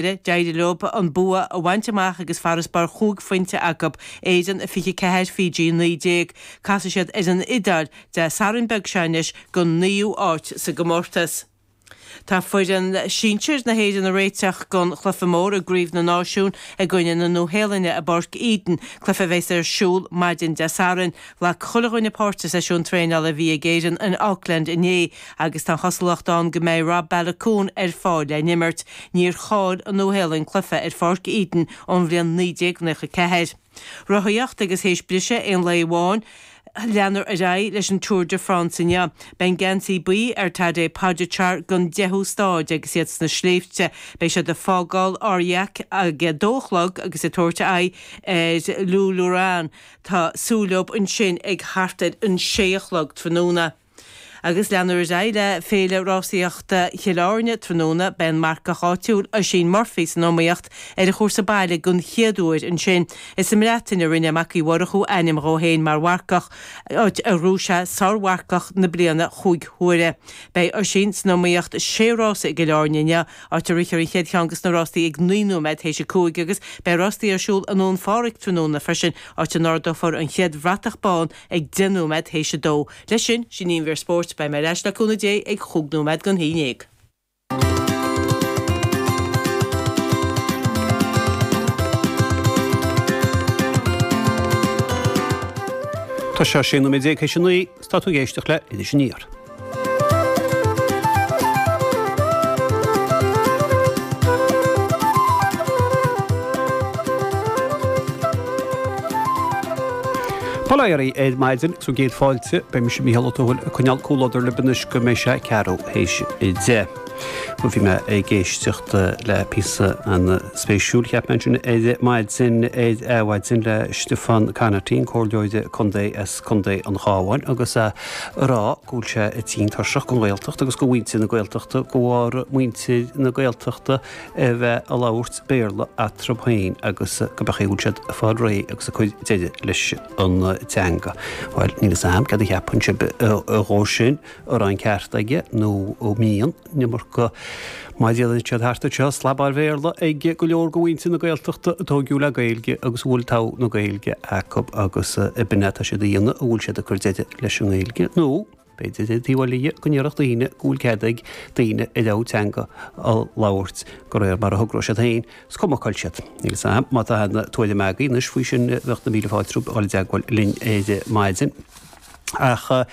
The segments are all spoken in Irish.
D'éirigh leo an bua a bhaint amach agus farasbarr chúig phointe acu, Éirinn 24, Fiji 19. Casfaidh siad ar an Iodáil Dé Sathairn beag seo anois don naoú áit sa gcomórtas. Tá foireann sinsir na hÉireann ag réiteach don chluiche mór i gCraobh na Náisiún i gcoinne na Nua-Shéalainne i bPáirc Eden, cluiche a bheas ar siúl maidin Dé Sathairn. Ghlac chuile dhuine páirt sa seisiún traenála a bhí ag Éirinn in Auckland inné agus tá an chosúlacht ann go mbeidh Rob Baloucoune ar fáil le n-imirt. Níor chaill an Nua-Shéalainn cluiche ar Pháirc Eden ón bhliain 1994. Rothaíocht agus théis briseadh aon lae amháin, leanfar ar aghaidh leis an Tour de France inniu. Beidh an geansaí buí ar Tadej Pogačar don deichiú stáid agus iad sna sléibhte. Beidh siad ag fágáil Aurillac ag a dó a chlog agus ag tabhairt aghaidh ar Lourmarin. Tá súil leo ansin ag thart ar an sé a chlog tráthnóna. Agus leanfar ar aghaidh le Féile Rásaíochta Chill Airne tráthnóna. Beidh an marcach áitiúil Oisín Murphy san iomaíocht ar an chúrsa baile den chéad uair ansin. Is sa mBreatain a rinne Mac Uí Mhurchú ainm dhó féin mar mharcach, áit ar ghnóthaigh sé sármharcach na bliana chúig huaire. Beidh Oisín san iomaíocht sé rása i gCill Airne inniu, áit a rithfear an chéad cheann de na rástaí ag 9 nóiméad théis a 5 agus beidh rástaí ar siúl i nDún Phádraig tráthnóna freisin, áit a n-ardófar an chéad bhratach bán ag 10 nóiméad théis a 2. Leis sin, sin í an mhír spóirt. Beidh mé ar ais le cúnamh Dé ag chúig nóiméad don haon dhéag. Tá sé 16 nóiméad théis a 9 is tá tú ag éisteacht le Iris Aniar. Bail ó Dhia oraibh ar maidin agus bhur gcéad fáilte. Beidh mise Mícheál Ó Tuathail ag coinneáil comhluadar libh anois go mbeidh sé ceathrú théis a 10. Bhuel bhí mé ag éisteacht le píosa an-spéisiúil cheap mé ansin ar maidin ar Adhmhaidin le Stiofán Conaty, an comhairleoir contae as Contae an Chabháin agus é ag rá go bhfuil sé tinn tuirseach den Ghaeltacht agus de mhuintir na Gaeltachta de bharr muintir na Gaeltachta a bheith ag labhairt Béarla eatarthu féin agus go b'é an chaoi a bhfuil siad ag fáil réidh agus ag cur deireadh leis an teanga. Bhuel, níl fhios a'm céard a cheapann sibh dhó sin, an raibh an ceart aige nó an mbíonn an iomarca má déanann siad thart anseo slabáil Bhéarla ag go leor de mhuintir na Gaeltachta a tóigeadh le Gaeilge agus a bhfuil togha na Gaeilge acu agus b'in é atá siad a dhéanamh, an bhfuil siad ag cur deireadh leis an nGaeilge nó b'fhéidir ar an taobh eile dhe go ndéarfadh daoine go bhfuil cead ag daoine a rogha teanga a labhairt de réir mar a thogróidh siad féin, is cuma cá bhfuil siad. Níl fhios a'm má tá aon tuairim agaibh anois faoi sin bheadh na míle fáilte romhaibh a dhul i dteagmháil linn ar maidin. Ach ar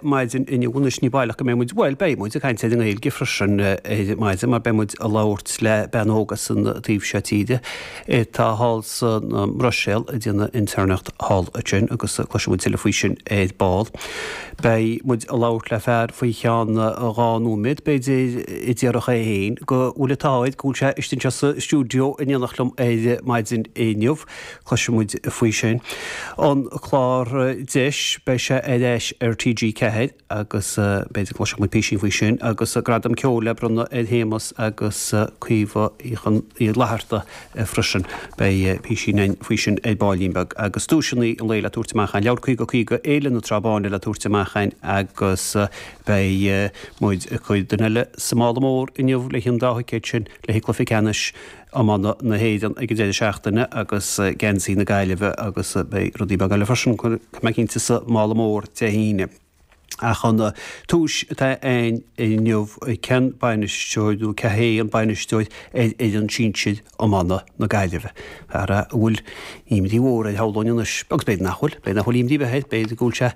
maidin inniu anois ní baileach go mbeidh muid, bhuel, beidh muid ag caint ar an nGaeilge freisin ar maidin mar beidh muid ag labhairt le bean óg as an taobh seo tíre atá thall san mBruiséil ag déanamh intéirneacht thall ansin agus cloisfidh muid tuilleadh faoi sin ar ball. Beidh muid ag labhairt le fear faoi cheann dhá nóiméad, b'fhéidir, a déarfadh é féin go bhfuil an t-ádh air go bhfuil sé istigh anseo sa stiúideo in éineacht liom ar maidin inniu. Cloisfidh muid faoi sin. An clár Deis, beidh sé ar ais ar TG4 agus b'fhéidir go gcloisfidh muid písín faoi sin agus Gradam Ceoil le bronnadh ar Shéamus agus Caoimhe Uí Fhlatharta freisin. Beidh písín againn faoi sin ar baillín beag. Agus duaiseanna an lae le tabhairt amach againn. Leabhar 50 50 Fhéile na Trá Báine le tabhairt amach againn agus beidh muid ag cur duine eile sa mála mór inniu le haghaidh an dá thicéad sin le haghaidh cluiche ceannais iomána na hÉireann ag an deireadh seachtaine agus geansaí na Gaillimhe agus beidh rudaí beaga eile freisin, tá mé cinnte, sa mála mór Dé hAoine. Ach an tomhais atá againn inniu, cén bainisteoir nó cé hé an bainisteoir ar fhoireann sinsir iomána na Gaillimhe? Fear a bhfuil imní mhór air shamhlóinn anois, agus b'fhéidir nach bhfuil, b'fhéidir nach bhfuil imní ar bith air, b'fhéidir go bhfuil sé,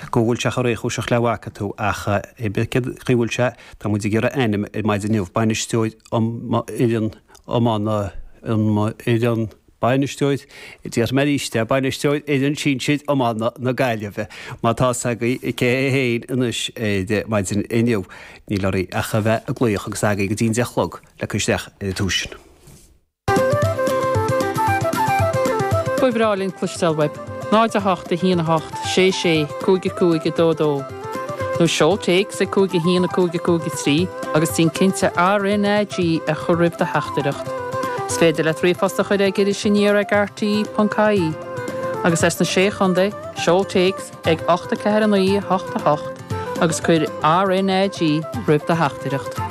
go bhfuil sé chomh réchúiseach le bhfaca tú ach cé bith cén chaoi a bhfuil sé, tá muid ag iarraidh ainm ar maidin inniu, bainisteoir fhoireann iomána, fhoireann, bainisteoir, déarfaidh mé arís é, bainisteoir fhoireann sinsir iomána na Gaillimhe. Má tá fhios agaibh cé hé féin anois ar maidin inniu, níl oraibh ach a bheith ag glaoch agus agaibh go dtí an 10 a chlog le cur isteach ar an tomhas sin. Ba bhreá linn cloisteáil uaibh. 0 8 1 8 6 6 5 5 2 2 Nó seol téacs ag 5 1 5 5 3 agus déan cinnte RnaG a chur roimh do theachtaireacht. Is féidir leat ríomhphost a chur ag irisaniar ag rte.ie Agus as na Sé Chontae, seol téacs ag 8 4 9 8 8 agus cuir RnaG roimh do theachtaireacht.